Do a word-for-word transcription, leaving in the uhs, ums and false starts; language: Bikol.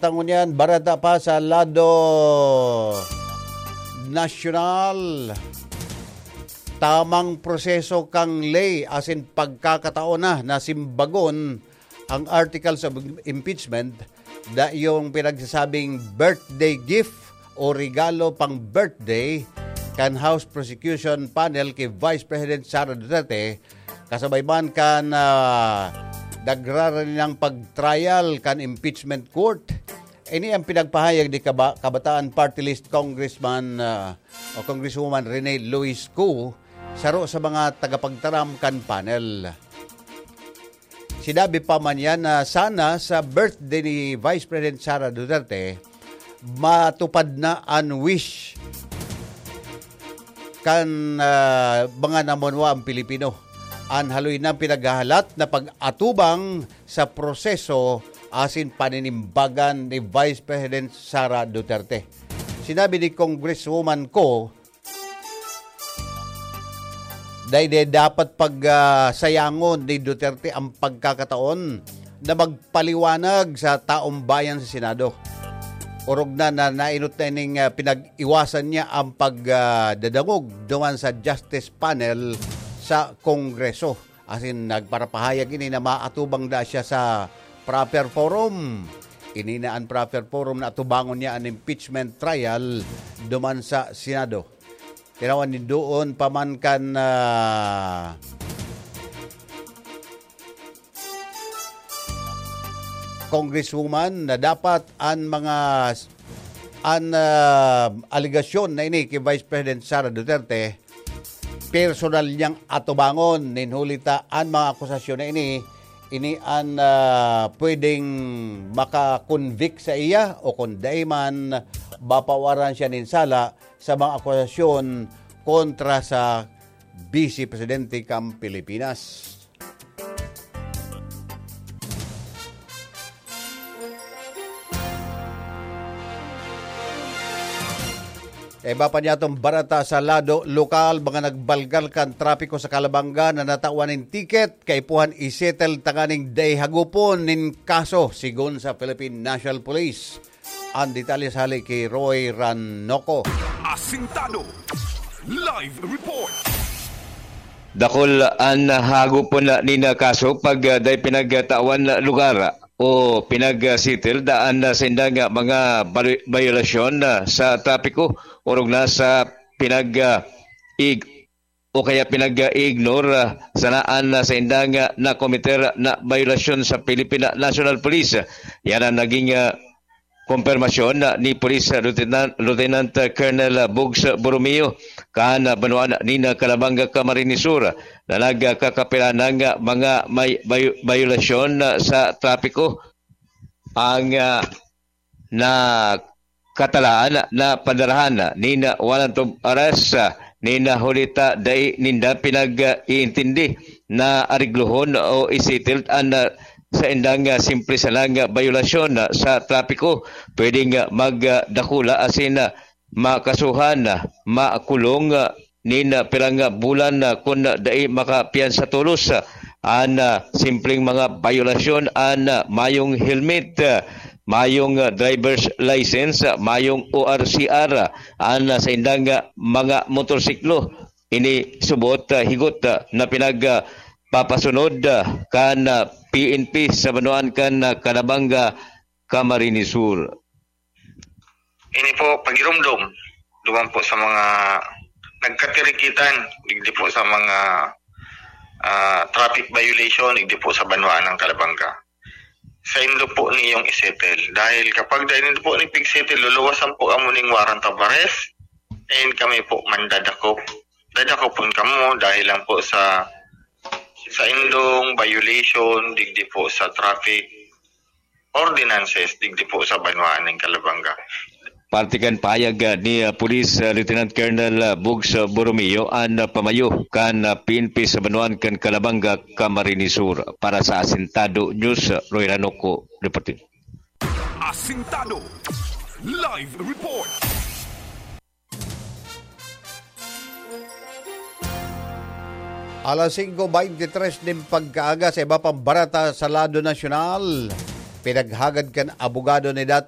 Tangon yan, barata pa sa lado nasyonal. Tamang proseso kan ley asin pagkakataon na na simbagon ang articles of impeachment, da yung pinagsasabing birthday gift o regalo pang birthday kan House Prosecution Panel ki Vice President Sara Duterte, kasabay man kan, ah, nagraraninang pag-trial kan impeachment court. Ini ang pinagpahayag ni Kaba-, Kabataan Party List Congressman, ah, o Congresswoman Rene Luis Cu, saro sa mga tagapagtaram kan panel. Sinabi pa man niya na sana sa birthday ni Vice President Sara Duterte, matupad na an wish kan, ah, mga namunwa ang Pilipino. An haloy nang pinaghahalat na pag-atubang sa proseso asin paninimbagan ni Vice President Sara Duterte. Sinabi ni Congresswoman Cu, dai, dai dapat pag, ah, sayangon ni Duterte ang pagkakataon na magpaliwanag sa taong bayan sa Senado. Orog na na nainot na ining, ah, pinag-iwasan niya ang pag, ah, dadangog duman sa Justice Panel sa Kongreso. Asin nagparapahayag ini na maatubang da siya sa proper forum. Ini na ang proper forum na atubangon niya an impeachment trial duman sa Senado. Tinawan ni doon pa man kan, ah, Congresswoman na dapat an mga s-, an, ah, alegasyon na ini ki Vice President Sara Duterte, personal niyang atubangon. Nin huli ta an mga akusasyon na ini, ini an, ah, pwedeng maka-convict sa iya o kung dai man, mapawaran siya nin sala sa mga akusasyon kontra sa Vice Presidente kan Pilipinas. Iba pa niya itong barata sa lado lokal, mga nagbalgal kan trapiko sa Calabanga na natawan nin ticket, kaipuhan isettle tanganing dai hagupon nin kaso, sigon sa Philippine National Police. Ang detalye sa hali ki Roy Ranoco. Asintado. Live report. Dakul an hagupon nin kaso pag, ah, dai pinagtawan lugar o pinag-settle daan na sindang, ah, mga balu-, bayolasyon, ah, sa trapiko, orog na sa pinag, ah, ig-, o kaya pinag-i-ignore, ah, sa naan na saindang, ah, nakomiter na bayolasyon sa Philippine National Police. Yan ang naging, ah, kumpirmasyon, ah, ni Police Lieutenant, Lieutenant Colonel Bugs Borromeo, kan, ah, banwaan nin Calabanga, Camarines Sur, na nagkakapilanang, ah, mga may bayo-, bayolasyon, ah, sa trapiko. Ang, ah, na katalaan na padarahan nin warrant of arrest, ah, nin huli ta dai ninda pinag-iintindi na areglohon o isettle an, ah, saindang, ah, simple sanang, ah, bayolasyon, ah, sa trapiko. Pwedeng, ah, magdakula asin, ah, makasuhan, ah, makulong, ah, nin, ah, pirang, ah, bulan, ah, kun, ah, dai makapiyansa tolos, ah, an, ah, simpleng mga bayolasyon, an, ah, mayong helmet, ah, mayong, ah, driver's license, ah, mayong O R C R, ah, an, ah, saindang, ah, mga motorsiklo. Ini subot, ah, higot, ah, na pinag, ah, papasunod, ah, kan, ah, P N P sa banwaan kan, ah, Calabanga, Camarines Sur. Ini po, pagirumdom, duman po sa mga nagkatirikitan, digdi po sa mga, ah, traffic violation, digdi po sa banwaan ng Calabanga. Saindo po niyong isettle. Dahil kapag dai nindo po ni pigsettle, luluwasan po kamo ning warrant of arrest, and kami po mandadakop. Dadakopon kamo dahil lang po sa saindong violation, digdi po sa traffic ordinances, digdi po sa banwaan nin Calabanga. Parte kan pahayag, ah, ni, ah, Police, ah, Lieutenant Colonel, ah, Bugs, ah, Borromeo, an, ah, pamayo kan, ah, P N P sa banwaan kan Calabanga, Camarines Sur. Para sa Asintado News, ah, Roy Ranoco, reporting. Asintado. Live report. Alas singko beintitres nin pagkaaga, sa iba pang barata sa lado nasyonal, pinaghagad kan abogado ni dati